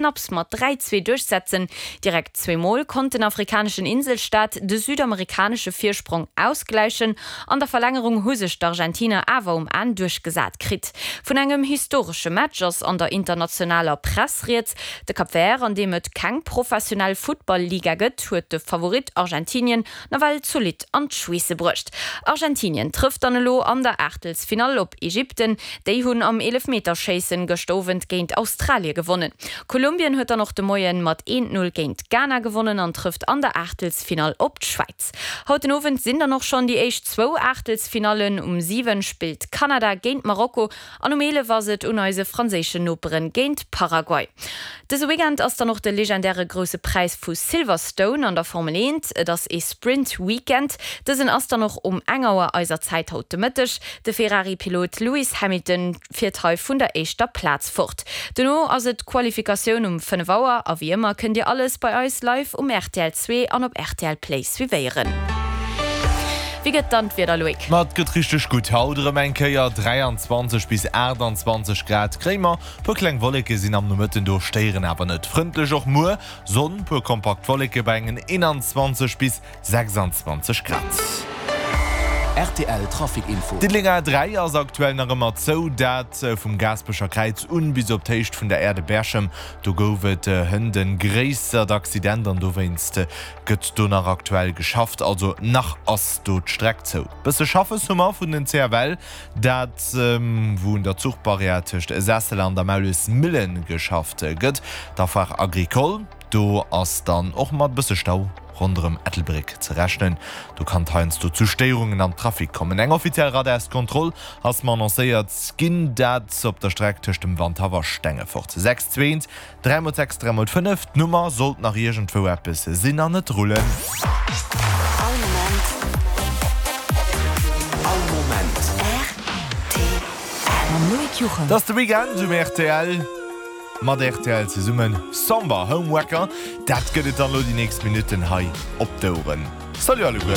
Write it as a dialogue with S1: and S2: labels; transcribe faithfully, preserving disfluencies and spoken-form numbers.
S1: Knapps mat dräi, zwee duerchsetzen. Direkt zwee Mol konnt den afrikaneschen Inselstaat de südamerikanesche Virsprong ausgläichen. An der Verlängerung hu sech d'Argentiner awer um Enn duerchgesat kritt. Vun engem historesche Match ass an der internationaler Press rieds. De Cap Vert, an deem et keng professionell Futtball-Liga gëtt, huet de Favorit Argentinien nawell zolidd an d'Schweesse bruecht. Argentinien trëfft dann elo an der Aachtelsfinall op Ägypten. Déi hunn am Eelefmeterschéissen gëscht Owend géint Australie gewonnen. Kolumbien huet dann och de Moien mat eent, Null géint Ghana gewonnen an trëfft an der Aachtelsfinall op d'Schwäiz. Haut den Owend sinn dann och schonn déi éischt zwou Aachtelsfinallen. Um siwen spillt Kanada géint Marokko an um eelef ass et un eise franséischen Noperen géint Paraguay. Dëse Weekend ass dann och de legendäre Grousse Präis vu Silverstone an der Formel eent. Et ass ee Sprint Weekend. Dësen ass dann och um eng Auer eiser Zäit haut de Mëtteg. De Ferrari-Pilot Lewis Hamilton fiert hei vun der éischter Plaz fort. Dono ass et d'Qualifikatioun um fënnef Auer a wéi ëmmer kënnt Dir alles bei eis live um rtl zwee an op rtl Play suivéieren. Wéi gëtt dann d'Wieder, Loïc?
S2: Ma et gëtt richteg gutt haut erëm eng Kéier, dräianzwanzeg bis aachtanzwanzeg Grad kréie mer. Puer kleng Wolleke sinn am Nomëtten do, stéieren awer net. Frëndlech och muer, Sonn, puer kompakt Wolleke bei engen eenanzwanzeg bis sechsanzwanzeg Grad.
S3: Rtl Trafic Info.
S2: D'Diddelenger A dräi ass aktuell nach ëmmer zou, dat vum Gaasperecher Kräiz un bis op d'Héicht vun der Aire de Berchem. Do gouf et hënt e gréissert Accident an dowéinst gëtt do nach aktuell geschafft. Also nach ass do d'Streck zou. Bësse Schaffes hu mer vun den C F L, dat wou un der Zuchbarrière tëscht Sessel an der Maulesmillen geschafft gëtt. D'Affaire Agricole, do ass dann och mat bësse Stau ronderëm Ettelbréck ze rechnen. Do kann et heiansdo zu Stéierungen am Trafic kommen. Eng offiziell Radarskontroll ass mar annoncéiert ginn, dat op der Streck tëscht dem Wandhaff a Stengefort. Sechs zwee eent dräi mol sechs dräi mol fënnef, d'Nummer sollt nach iergendwou eppes sinn an net rullen.
S4: All Moment.
S3: All Moment.
S4: R T L.
S5: Mam Loïc Juchem.
S2: Et ass de Weekend um R T L. Mat R T L zesummen Samba Homewrecker, dat gëtt et dann elo déi nächst Minutten hei op d'Oueren. Salut alleguer!